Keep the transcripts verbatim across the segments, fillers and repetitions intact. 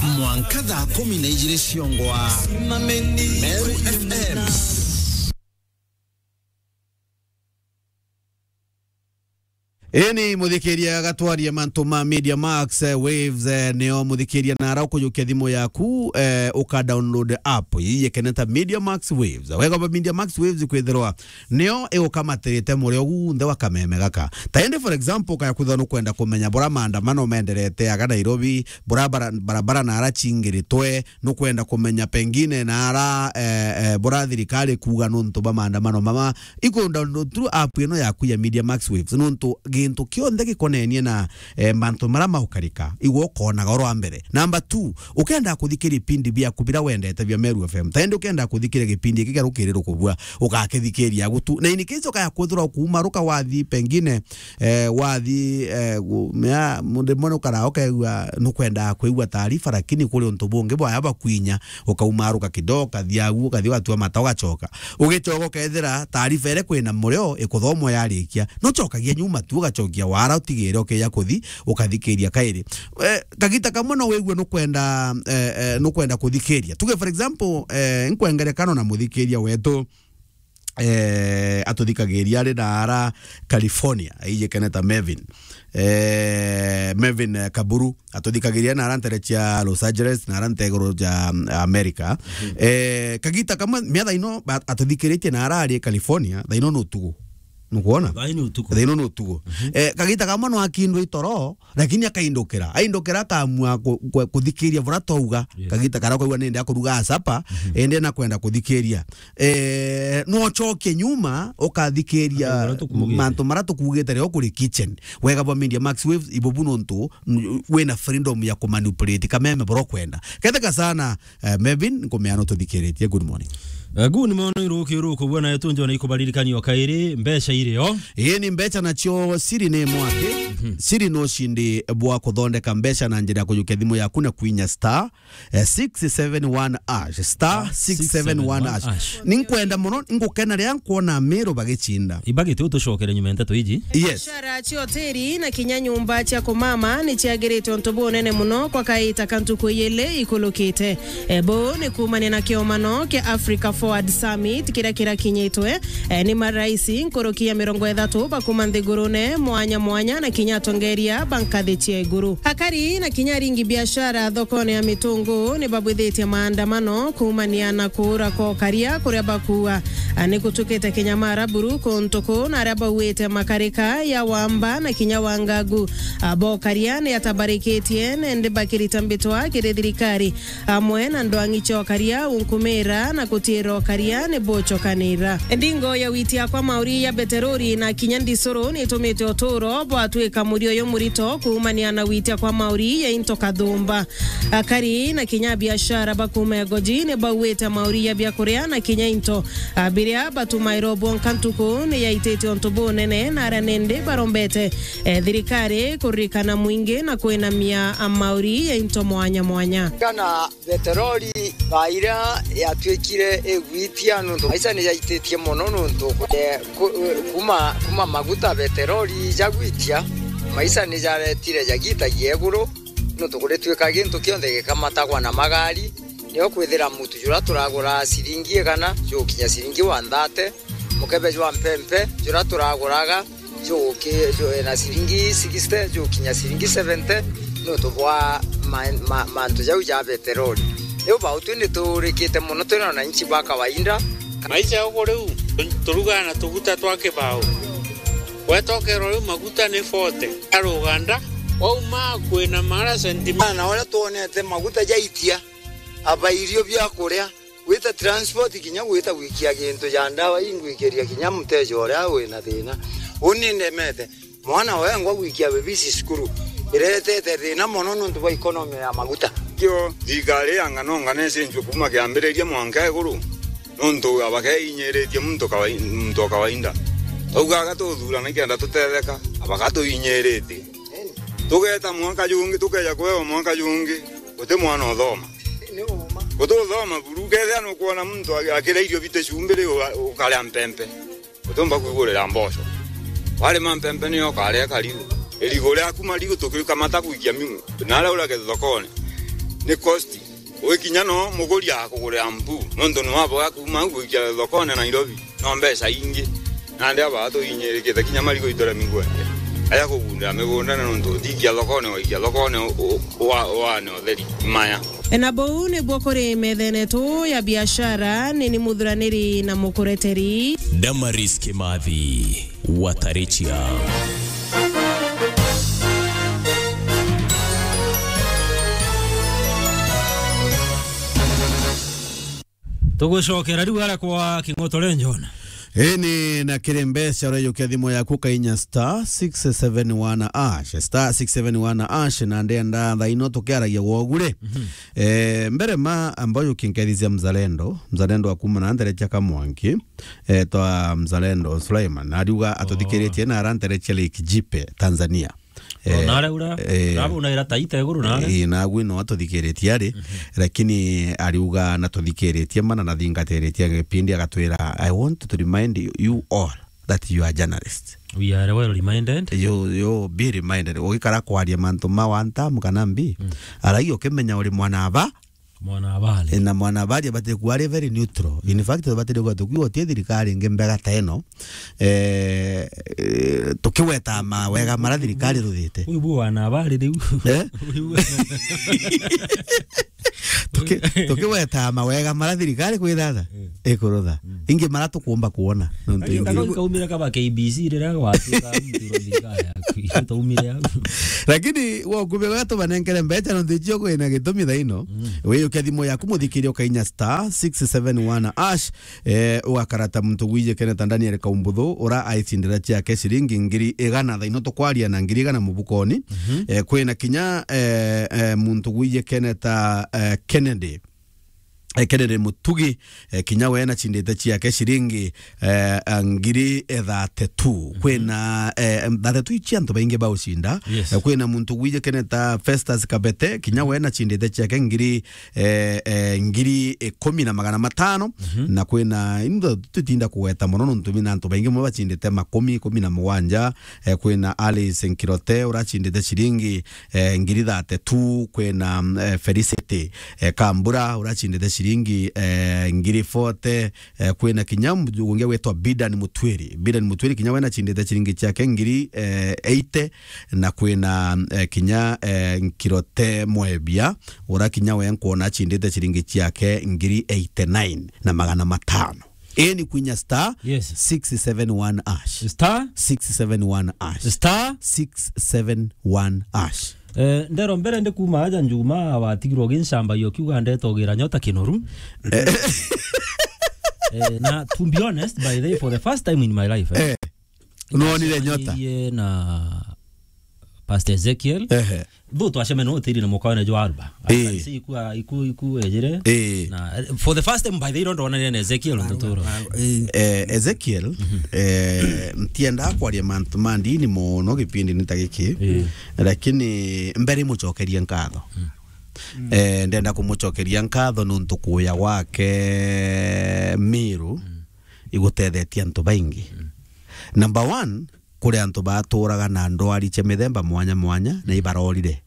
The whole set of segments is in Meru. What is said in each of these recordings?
Mwanka thaa kumi na ijiri ciongwa. Meru F M. Ini muthikiria gatwaria mantu ma Media Max, eh, Waves, eh, nio muthikiria na ara ukujukia thimu yaku, eh, uka download app ii yekene ta Media Max Waves. Wega ba Media Max Waves kwithirwa nio igukamatirite murio gunthe wa kameme gaka. Ta indi, for example, kaya kwithirwa nukwenda kumenya bura maandamano menderete aga Nairobi, bura bara-, barabara na ara cingiritwe, nukwenda kumenya pengine na ara, eh, eh, bura thirikari kuuga nuntu ba maandamano mama, iku download through app ino yaku ya Media Max Waves, nuntu gintu kionthe gikonenie na, eh, mantu mara maukarika, igwe ukonaga oro wa mbere. Number two, ukenda kuthikiria ipindi biaku bira wendete bia Meru F M, ta indi ukenda kuthikiria gipindi giki gia rukiri rukubua, ugakithikiria gutu. Na in case ukaya kwithirwa ukuuma ruka wathi pengine, eh, wathi, eh, gu-, mea, mundu mwana ukara ukaigua nukwenda kwigua taarifa, lakini kuri untu bungi bwaya bakwinya, ukaumaruka kidogo, ukathi agu, ukathi ugatua mata, ugacoka. Ugicoka ukethira taarifa iria kwina murio ikuthomwa yarikia, nucokagia nyuma tu, ugacokia wara utigire ukija kuthi, ukathikiria kairi. Eh, kagita kamwe no wigue nukwenda, eh, eh, nukwenda kuthikiria. Tuge, for example, eh, nkwengerekano na muthikiria wetu, eh, atuthikagiria ari na ara California, aijikene ta Mevin. Eh, Mevin, eh, Kaburu, atuthikagiria na ara ntere cia Los Angeles, na ara nteguru ja, mm, America. Mhm. Eh, kagita kamwe, mia thaa ino, ba-, atuthikiritie na ara ari California, thaa ino ni utugu. Nukwona? Thaa ino ni utugu. Thaa ino ni utugu. Mhm. Eh, kagita kamwe no akindwe itoro, lakini akaindukira. Aindukira akamua ku-, ku-, kuthikiria bura twauga. Yes. Kagita karia kwaigua nindi akuruga sapa, mhm, indi na kwenda kuthikiria. Eh, no ucoke nyuma, ukathikiria mantu mara tukugite rio kuri kitchen. Wega bwa Media Max Waves, ibubu nontu, n-, wina freedom ya kumanipulate kameme bura ukwenda. Ketheka sana, eh, Mevin, nkumeana ututhikiritie. Good morning. Eh, good morning, ruki ruku, bwana yetu, njona ikubaririkania o kairi, mbeca iri o. Ii ni mbeca nacio siri ni mwaki. Mhm. Siri no ushindi bwa kuthondeka mbeca na njira ya kujukia thimu yaku na kwinya star, eh, six seven one hash, star six seven one hash. Ninkwenda muno, ngukena riria nkwona Meru bagicinda. Ibagite utucokere nyuma ya nteto iji. Yes. Biashara cia hoteli na kinya nyumba cia kumama ni ciagirite untu bunene muno kwa kaita ka ntuku ijili ikulukite. E, buu ni kuumania na kiomano kia Africa Forward Summit kiria kirakinyitwe, e, ni marais nkuruki ya mirongo ithatu ba kuuma nthigurune mwanya mwanya na kinya atongeria ba nkathi cia iguru. Akari na kinya aringi biashara thokone ya Mitungu ni babwithitie maandamano kuumania na kuura kwa ukaria kuria bakuuga, a, ni gutukite kinyamara buru kuntu kuu na aria bauite makarika ya Wamba na kinya Wangagu, a, bokaria ni atabarikitie nende bakirita mbitwa kiri thirikari amwe na ndwang'i cia ukaria unkumira na kutiira ukaria ni bucokanira. Ndingo ya witia kwa mauri ya beterori na kinya ndisuru ni itumite uturo bwatwika murioyo murito kuumania na witia kwa mauri ya into kathumba. Akari na kinya biashara ba kuuma Egoji ni bauite mauri ya biakuria na kinya into, a, biria batumairwo bwonka ntuku ni yaititie untu bunene na aria nindi barombete, e, thirikari kuririkana mwingi na kwinamia, a, mauri ya into mwanya mwanya. Kana beterori baira yatwikire igwitia nuntu maisha ni jaititie mono nuntu, e, ku-, kuma, kuma maguta beterori jagwitia, maisha ni jaretire jagitagia iguru. Nontu kuritwika gintu kionthe gikamatagwa na magari, nio kwithira mutu jura turagura ciringi igana, jugukinya ciringi one thirty, mukebe jwa mpempe jura turaguraga, juguki-, ju-, na ciringi sixty, jugukinya ciringi seventy, nontu bwa ma-, ma-, mantu jau ja beterori. Riu bau twi ni tuurikite mono, twi na wananchi ba kawaida. Maisha uku riu, tu-, turugaga na tuguta twa kibao. Wetokero riu maguta ni forty. Aruganda, wauma kwina mara sentimita. Na uria twonete maguta jaitia, aba irio bia kuria, gwita transport, kinya gwita gwikia gintu ja ndawa, ingwikiria kinya muteja uria wina thina. Uni ndemete. Mwana wengwa gwikia bebisi cukuru, iretete thina mono nontu bwa economy ya maguta. Kio thirikari ya ngano ngano icenjue kuuma kiambiriria mwanka iguru. Nontu abakeinyiritie muntu kawai-, muntu o kawaida. Twaugaga tuthurana ikenda tutetheka, abaka tuinyiritie. Tugeta mwaka jungi, tukeja kwewa mwaka jungi, guti mwana uthoma. Guti uthoma buru, ukethia nukwona muntu a-, akira irio bite cumbiri, uga-, ukaria mpempe. Utumba kwigurira mboco. Warima mpempe niyo ukaria karigu. Irigu riaku marigu tukikamata gwikia miu. Naria uragetha thokone. ni cost. Wikinya no muguri akugurira mpu, nontu ni waboga kuuma au gwikia thokone Nairobi, no mbeca ingi. Nandi aba tuinyirikite kinya marigu ituremi ngwende. Aja kugundira migunda na nontu utikia thokone, waikia thokone u-, u-, wa-, wane utheri maya. Na bou nibwo kuri methenetũ ya biashara, nini muthuraniri na mukureteri. Damaris Kimathi, Watarichia. Tugucokera riu ara kwa King'otore Njona. Ini na kiri mbeca, ureyukia thimu yaku, kainya star six seven one hash, star six seven one hash, na ndenda thaino tukiaragia wogure. Mhm. Eh, mbere ma ambayo kinkethithia mzalendo, mzalendo wa kuma na nderecha Kamwanki, eh, twa mzalendo Sulaiman, ariuga atuthikiritie na arantereche Lake Jipe, Tanzania. Oh, eh, nare ura, eh, rabu na ira taita iguru nare. Eh, nagwi no atuthikiritie ari, mhm, lakini ariuga na tuthikiritie mana na thingatiritie gipindi agatwira, "I want to remind you, you all that you are journalists." We are well reminded. You, you be reminded. Ugikara kwaria mantu ma one term kana mbi, mm, aragi ukimenya uri mwana aba, mwana habari. Eh, na mwana habari abati kuwa ari very neutral. In fact, abati kuwa tukiwa utie thirikari ingi mbega ta ino. Eh, eh, tukiweta mawega mara thirikari ruthite. Uyu bu wana habari riu. Eh? Uyu bu- Tuki-, tukiweta mawega mara thirikari kwithata, mm, ikurutha. Mm. Ingi mara tukumba kuona. Nontu ingi kaumire kaba K B C riria gwatuika mtu thirikari yaku. Taumire au. Lakini wokume wega tubanenkere mbeca nontu icio kwina gitumi thaino. Mm. Wiyukia thimu yaku muthikiria ukainya star six seven one hash, eh, ugakarata muntu gwije kene ta Daniel Kaumbuthu, ura aicindira ciake ciringi ngiri igana thaino tukwaria na ngiri igana mubukoni. Mhm. Eh, kwina kinya, eh, eh, muntu gwije kene ta, eh, Kennedy. Eh, Kennedy Mutugi, eh, kinya we na cindite ciake ciringi, eh, ngiri thirty-two. Mhm. Kwina, eh, thirty-two ici antu baingi baucinda. Yes. Eh, kwina muntu gwije kene ta Festus Kabete, kinya we na cindite ciake ngiri, eh, eh, ngiri ikumi na magana matano. Mhm. Na kwina, into tutinda kugweta mono nontu mina antu baingi mo bacindite makumi, ikumi na mugwanja. Eh, kwina Alice Nkirote uracindite ciringi, eh, ngiri thirty-two, kwina, eh, Felicity, eh, Kambura uracindite ciringi, eh, ngiri forty, eh, kwina kinya mju-, ungi witwa Bidan Mutwiri. Bidan Mutwiri kinya we nacindite ciringi ciake ngiri, eh, eighty, na kwina, eh, kinya, eh, Nkirote Mwebia, ura kinya we nkwona acindite ciringi ciake ngiri eighty-nine na magana matano. Ii ni kwinya star, yes, six seven one hash. Star? Six seven one hash. Star? Six seven one hash. Eh, ndero mbere ndi kuma aja Njuma watigirwo ugincamba yo kiuga ndeta ugira nyota kinoru. Eh. Eh, na to be honest, by the way, for the first time in my life, eh, eh. Nonire nyota? Twacemanirie na Pastor Ezekiel. Ehe. Though twacemania na utiri na mukawene jwa Alba. Eh. I can say iku, iku, iku ejire. Eh. Na, eh, for the first time, by the way, ndo ndonanire na Ezekiel nduturo. Eh. Eh, Ezekiel, mhm, eh, ntienda kwaria mantu ma ndini mono gipindi ni ta giki. Eh. Lakini mbere mucokerie nkatho. Mm. Eh, ndenda kumucokeria nkatho nontu kuya gwake Miru, mm, igutethetie antu baingi. Mm. Number one, kuri antu baturaga na ndwari cia mithemba mwanya mwanya, na ibarorire.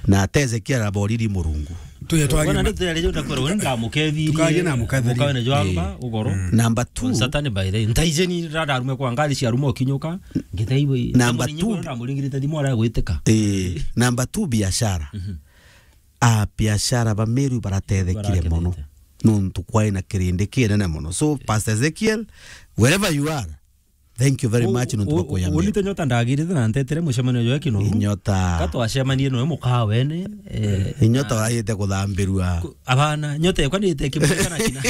Na ate Ezekiel aboriri Murungu. Tuye twarie. Wana ma- ndio tayari ndio kwero, ngamukethiri. Tukarie na mukethiri. Mukawene jwamba, eh, ugoro. Mm. Number two. Satani by the way. Ntaijeni rada arume kwa ngari cia rumo kinyuka. Ngithaiwe. Number two. Ndamuringirite thimu ara gwitika. Eh, number two, biashara. Mhm. A biashara ba Meru baratethekire mono. Barakenete. Nontu kwai na kirindi kinene mono. So, Pastor Ezekiel, wherever you are, thank you very much nontu bwa kwiyamira. Unite nyota ndagirite na ntetere mucemanio jwa kino. Inyota. Ka twacemanie noe mukawene, eh, inyota na uragite kuthambirua. Ku-, abana, nyota yakwa ni ite kimwe kana kina.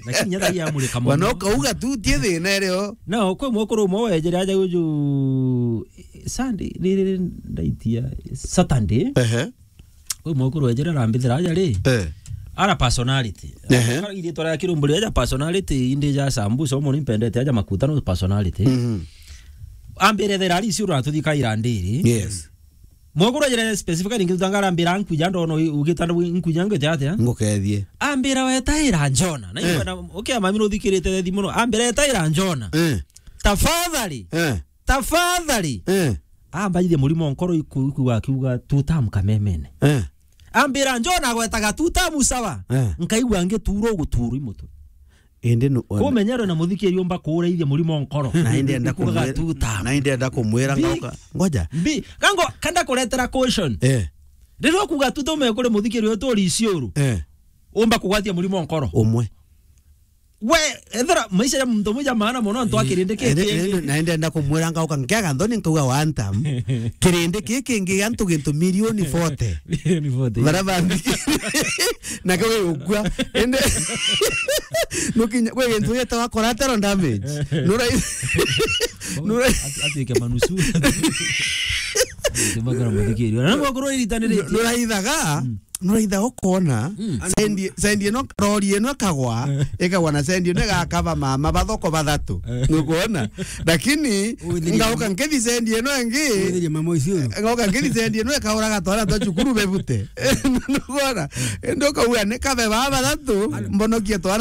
Lakini nyota ya murika mono. Wana ukauga tu tie thina irio. No, kwi mwekuru umwe wejere aja uju Sunday, riri ndaitia Saturday. Ehe. Kwi mwekuru wejere arambithira aja ri. Eh. Ara personality. Ehe. Ara ithiitwa ria kirumburi aja personality, indi ja sambusa, umo ni mpendete aja makuta no personality. Mhm. Ambire thera ari icio uratuthika irandiri. Yes. Mwekuru wejere specifically ngi tutanga arambira nkuja ndono ugita nkuja ngwite atia? Ngukethie. Ambira wetaira Njona. Na, eh, ikwenda, okay, mami nuthikirite thethi muno. Ambira wetaira Njona. Eh. Tafadhali. Eh. Tafadhali. Eh. Ambaithie murimo nkoro iku, iku akiuga tutam kamemene. Eh. Ambira, "Njoo," na agwetaga two term sawa. Eh. Nkaigua ngituurwa gutuurwa i mutwe. Indi nu-, kumenyerwe na muthikiri umba kuuraithia murimo nkoro. Na indi enda kumwira, two term. Na indi enda kumwira, bi-, ngauka. Ngoja. Bi-, kango, kanda kuretera caution. Eh. Riria ukuga two term kuri muthikiri uyu turi Isiuru. Eh. Umba kugwatia murimo nkoro. Umwe. We, ethera maisha ya muntu umwe ja maana mono, antu a kirindi kiki. Indi, indi, na indi enda kumwira ngauka nkiaga nthoni nkauga one term. Kirindi kiki kingi antu gintu milioni forty. Milioni forty. Bara bangi. Na kwe ukua. Indi nukinya kwe gintu gitawa collateral damage. Nura, nura. Atu-, atuike manusu. Atuike makara muthikiri. Na nagwa kurwa iritani riki. Nuraithaga. Mm. Nuraitha ukona, mm, sendi, sendi ino, rori ino ikagwa, eh, ikagwa na sendi ino igakaba mama bathoko bathatu. Eh. Nukwona? Lakini, withirie ngauka mama, nkithi sendi ino ingi, withirie mama ucio. Ngauka nkithi sendi ino ikauraga twana twa cukuru bebute. Nukwona? Indi ukauga ni kabe baba bathatu, mbonokie twana